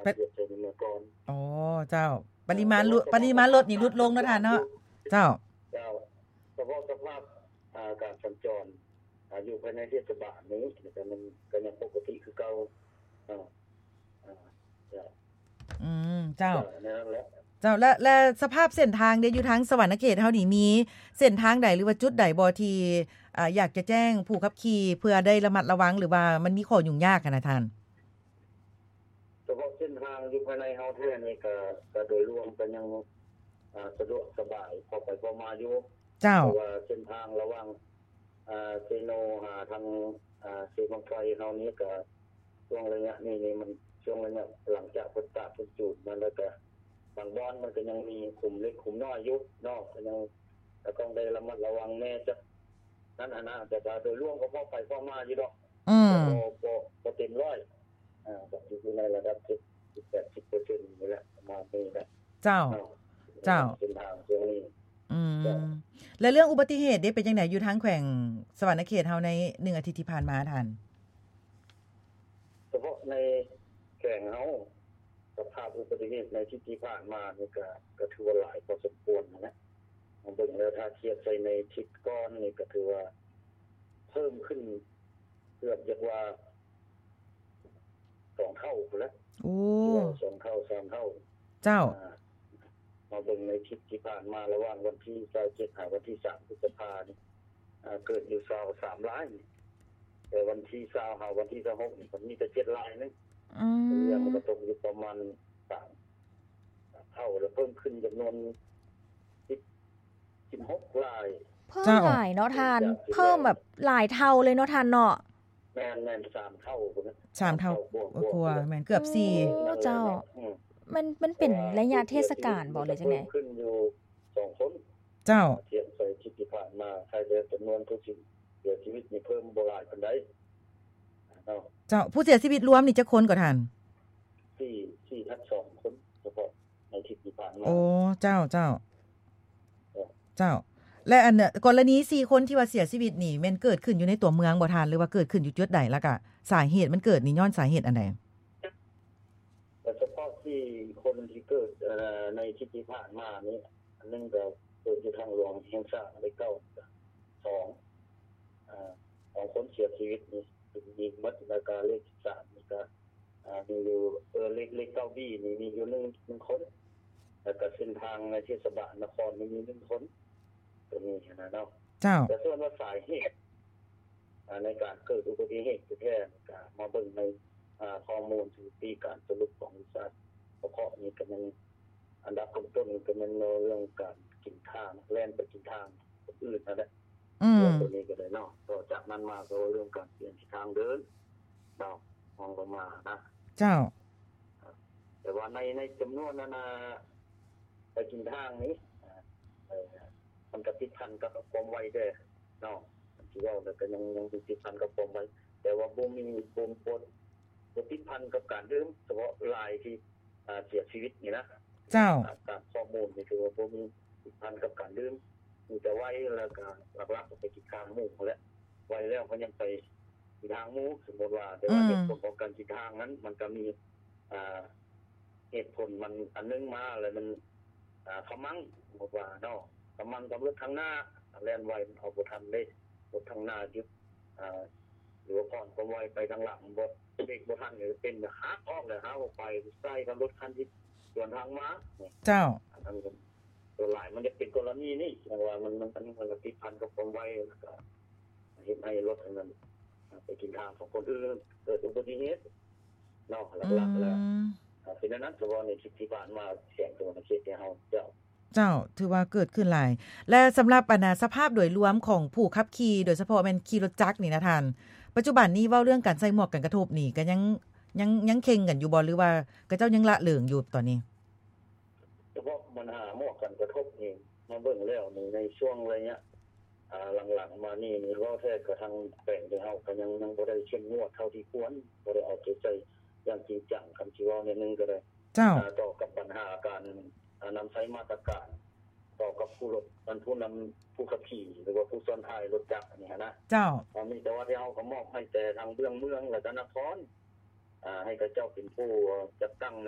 ປະ ລຽບໃສ່ເມື່ອກ່ອນ. ອໍ ເຈົ້າ. ປະລິມານລົດ ປະລິມານລົດນີ້ຫຼຸດລົງເນາະທ່ານເນາະ. ເຈົ້າ. ເຈົ້າ. ສະເພາະສະພາບ ອ່າ ການສັນຈອນ ອ່າ ຢູ່ພາຍໃນເທດສະບານນີ້ ກໍຍັງ ກໍຍັງປົກກະຕິຄືເກົ່າ. ອ່າ ອ່າ ເຈົ້າ. ອືມ ເຈົ້າ. ເຈົ້າ ແນວນັ້ນແຫຼະ. ເຈົ້າ. ແລະ ແລະ ສະພາບເສັ້ນທາງເດ ຢູ່ທາງສະຫວັນນະເຂດເຮົານີ້ ມີເສັ້ນທາງໃດ ຫຼືວ່າຈຸດໃດບໍ່ ທີ່ ອ່າ ຢາກຈະແຈ້ງຜູ້ຂັບຂີ່ ເພື່ອໄດ້ລະມັດລະວັງ ຫຼືວ່າມັນມີຂໍ້ຫຍຸ້ງຍາກຫັ້ນນະທ່ານ? ສະເພາະເສັ້ນທາງຢູ່ພາຍໃນເຮົາແທ້ນີ້ ກະ ກະໂດຍລວມກະຍັງ ອ່າ ສະດວກສະບາຍ ເຂົ້າໄປເຂົ້າມາຢູ່. ເຈົ້າ. ເພາະວ່າເສັ້ນທາງລະຫວ່າງ ອ່າ ເຊໂນ ຫາທາງ ອ່າ ເຊບັ້ງໄຟເຮົານີ້ ກະຊ່ວງໄລຍະນີ້ນີ້ ມັນຊ່ວງໄລຍະຫຼັງຈາກເພິ່ນຕາກເພິ່ນຈູດມາແລ້ວ ກະບາງບ່ອນມັນກະຍັງມີຂຸມເລັກຂຸມນ້ອຍຢູ່ເນາະ ກະຍັງ ກະຕ້ອງໄດ້ລະມັດລະວັງແດ່ຈັກນັ້ນຫັ້ນນະ. ແຕ່ກະໂດຍລວມກະພໍໄປພໍມາຢູ່ດອກ. ອືມ. ແຕ່ບໍ່ ບໍ່ ບໍ່ເຕັມຮ້ອຍ ອ່າ ກະຢູ່ໃນລະດັບເຈັດສິບ ແປດສິບເປີເຊັນນີ້ແຫຼະ ປະມານນີ້ແຫຼະ. ເຈົ້າ. ເຈົ້າ. ເສັ້ນທາງຊ່ວງນີ້. ອືມ. ເຈົ້າ. ແລະ ເລື່ອງອຸບັດຕິເຫດເດ ເປັນຈັ່ງໃດ ຢູ່ທາງແຂວງສະຫວັນນະເຂດເຮົາໃນໜຶ່ງອາທິດທີ່ຜ່ານມາທ່ານ? ສະເພາະໃນແຂວງເຮົາ ສະພາບອຸບັດຕິເຫດໃນອາທິດທີ່ຜ່ານມານີ້ ກະ ກະຖືວ່າຫຼາຍພໍສົມຄວນຫັ້ນແຫຼະ. ເຮົາເບິ່ງແລ້ວ ຖ້າທຽບໃສ່ໃນທິດກ່ອນນີ້ ກະຖືວ່າເພີ່ມຂຶ້ນເກືອບ ຢາກວ່າ ສອງເທົ່າພຸ້ນແຫຼະ. ໂອ້. ສອງເທົ່າ ສາມເທົ່າ. ເຈົ້າ. ອ່າ ມາເບິ່ງໃນຄລິບທີ່ຜ່ານມາ ລະຫວ່າງວັນທີຊາວເຈັດ ຫາວັນທີສາມ ພຶດສະພານີ້ ອ່າ ເກີດຢູ່ຊາວສາມລາຍ ແຕ່ວັນທີຊາວ ຫາວັນທີຊາວຫົກນີ້ ມັນມີແຕ່ເຈັດລາຍໜຶ່ງ. ອືມ. ເປັນຫຍັງມັນກະຕົກຢູ່ປະມານສາມເທົ່າ ແລ້ວເພີ່ມຂຶ້ນຈຳນວນສິບ ສິບຫົກລາຍ. ເພີ່ມ ເຈົ້າ ຫຼາຍເນາະທ່ານ. ເພີ່ມແບບຫຼາຍເທົ່າເລີຍເນາະທ່ານເນາະ. ແມ່ນໆ ສາມເທົ່າພຸ້ນນະ. ສາມເທົ່າ ສາມເທົ່າກວ່າໆ ແມ່ນເກືອບສີ່. ໂອ້ ເຈົ້າ. ອືມ. ມັນ ມັນເປັນໄລຍະເທດສະການບໍ່ ຫຼືຈັ່ງໃດ? ເພີ່ມຂຶ້ນຢູ່ສອງຄົນ. ເຈົ້າ. ທຽບໃສ່ທີ່ຜ່ານມາ ໃຫ້ແຕ່ຈຳນວນຜູ້ເສຍຊີວິດນີ້ເພີ່ມບໍ່ຫຼາຍປານໃດເນາະ. ເຈົ້າ. ຜູ້ເສຍຊີວິດລວມນີ້ຈັກຄົນກໍທ່ານ? ສີ່ ສີ່ທັບສອງຄົນ ສະເພາະໃນທິດທີ່ຜ່ານມາ. ໂອ້ ເຈົ້າ ເຈົ້າ. ເຈົ້າ. ແລະ ອັນ ກໍລະນີສີ່ຄົນທີ່ວ່າເສຍຊີວິດນີ້ ແມ່ນເກີດຂຶ້ນຢູ່ໃນຕົວເມືອງບໍ່ທ່ານ ຫຼືວ່າເກີດຂຶ້ນຢູ່ຈຸດໃດ? ແລ້ວກະສາເຫດມັນເກີດນີ້ຍ້ອນສາເຫດອັນໃດ? ແຕ່ສະເພາະສີ່ຄົນທີ່ເກີດ ເອີ ໃນທິດທີ່ຜ່ານມານີ້ ອັນໜຶ່ງກະເກີດຢູ່ທາງຫຼວງແຫ່ງຊາດເລກເກົ້າ ສອງ ເອີ ສອງຄົນເສຍຊີວິດນີ້ ຍິງໝົດ. ແລ້ວກະເລກສິບສາມນີ້ກະ ອ່າ ມີຢູ່ ເອີ ເລກ ເລກເກົ້າບີນີ້ມີຢູ່ໜຶ່ງ ໜຶ່ງຄົນ ແລ້ວກະເສັ້ນທາງໃນເທດສະບານນະຄອນນີ້ມີໜຶ່ງຄົນ ໂຕນີ້ຫັ້ນນະເນາະ. ເຈົ້າ. ແຕ່ສ່ວນວ່າສາເຫດ ອ່າ ໃນການເກີດອຸບັດຕິເຫດແທ້ໆ ກະມາເບິ່ງໃນ ອ່າ ຂໍ້ມູນສະຖິຕິການສະຫຼຸບຂອງວິຊາສະເພາະນີ້ ກະຍັງອັນດັບຕົ້ນໆ ກະແມ່ນເລື່ອງການກິນທາງ ແລ່ນໄປກິນທາງຄົນອື່ນຫັ້ນແຫຼະ. ອືມ. ເລື່ອງໂຕນີ້ກໍໄດ້ເນາະ. ຕໍ່ຈາກນັ້ນມາກໍເລື່ອງການປ່ຽນທິດທາງເດີນເນາະ ຮອງລົງມານະ. ເຈົ້າ. ແຕ່ວ່າໃນ ໃນຈຳນວນນັ້ນນະ ໄປກິນທາງນີ້ ເອີ ມັນກໍຕິດພັນກັບຄວາມໄວແດ່ເນາະ. ຄັນຊິເວົ້າແລ້ວກໍຍັງ ຍັງຕິດພັນກັບຄວາມໄວ ແຕ່ວ່າບໍ່ມີ ບໍ່ ບໍ່ ບໍ່ຕິດພັນກັບການດື່ມ ສະເພາະລາຍທີ່ ອ່າ ເສຍຊີວິດນີ້ນະ. ເຈົ້າ. ຕາມຂໍ້ມູນນີ້ຖືວ່າບໍ່ມີຕິດພັນກັບການດື່ມ ມີແຕ່ໄວ ແລ້ວກະຫຼັກໆໄປກິນທາງໝູ່ຫັ້ນແຫຼະ. ໄວແລ້ວກໍຍັງໄປກິນທາງໝູ່ ສົມມຸດວ່າ. ແຕ່ວ່າ ອືມ ເຫດຜົນຂອງການກິນທາງນັ້ນ ມັນກໍມີ ອ່າ ເຫດຜົນມັນອັນໜຶ່ງມາ ແລ້ວມັນ ອ່າ ຂະມັງ ສົມມຸດວ່າເນາະ ຂະມັງກັບລົດທາງໜ້າ ແລ່ນໄວມັນເອົາບໍ່ທັນເດ້ ລົດທາງໜ້າຢຸດ ອ່າ ຫຼືວ່າຜ່ອນຄວາມໄວໄປທາງຫຼັງ ບໍ່ ເບຣກບໍ່ທັນ ກໍເປັນຫັກອອກແລ້ວ ຫັກອອກໄປໃສ່ກັບລົດຄັນທີ່ສວນທາງມາ. ເຈົ້າ. ອັນນັ້ນກໍສ່ວນຫຼາຍມັນຈະເປັນກໍລະນີນີ້ ແຕ່ວ່າມັນ ມັນ ມັນ ມັນກໍຕິດພັນກັບຄວາມໄວ ແລ້ວກໍເຮັດໃຫ້ລົດອັນນັ້ນ ໄປກິນທາງຂອງຄົນອື່ນ ເກີດອຸບັດຕິເຫດເນາະ ຫຼັກໆແລ້ວ. ອືມ. ເປັນອັນນັ້ນ ສະເພາະໃນທິດທີ່ຜ່ານມາ ແຂວງສະຫວັນນະເຂດຂອງເຮົາ. ເຈົ້າ. ເຈົ້າ ຖືວ່າເກີດຂຶ້ນຫຼາຍ ແລະ ສຳລັບ ອັນນະ ສະພາບໂດຍລວມຂອງຜູ້ຂັບຂີ່ ໂດຍສະເພາະແມ່ນຂີ່ລົດຈັກນີ້ນະທ່ານ ປັດຈຸບັນນີ້ເວົ້າເລື່ອງການໃສ່ໝວກກັນກະທົບນີ້ ກະຍັງ ຍັງ ຍັງເຄັ່ງກັນຢູ່ບໍ່ ຫຼືວ່າເຂົາເຈົ້າຍັງລະເລີງຢູ່ຕອນນີ້? ສະເພາະບັນຫາໝວກກັນກະທົບນີ້ ມາເບິ່ງແລ້ວນີ້ ໃນຊ່ວງໄລຍະ ອ່າ ຫຼັງໆມານີ້ນີ້ ເວົ້າແທ້ກະທາງແຂວງເຮົາກະຍັງ ຍັງບໍ່ໄດ້ເຂັ້ມງວດເທົ່າທີ່ຄວນ ບໍ່ໄດ້ເອົາໃຈໃສ່ຢ່າງຈິງຈັງ ຄັນຊິເວົ້າແນວໜຶ່ງກະໄດ້. ເຈົ້າ. ອ່າ ຕໍ່ກັບບັນຫາການ ອ່າ ນຳໃຊ້ມາດຕະການຕໍ່ກັບຜູ້ລົດ ອັນ ຜູ້ນຳ ຜູ້ຂັບຂີ່ ຫຼືວ່າຜູ້ຊ້ອນທ້າຍລົດຈັກນີ້ຫັ້ນນະ. ເຈົ້າ. ອັນນີ້ແຕ່ວ່າທີ່ເຮົາກໍມອບໃຫ້ແຕ່ທາງເບື້ອງເມືອງ ແລະກະນະຄອນ ອ່າ ໃຫ້ເຂົາເຈົ້າເປັນຜູ້ຈັດຕັ້ງໃນ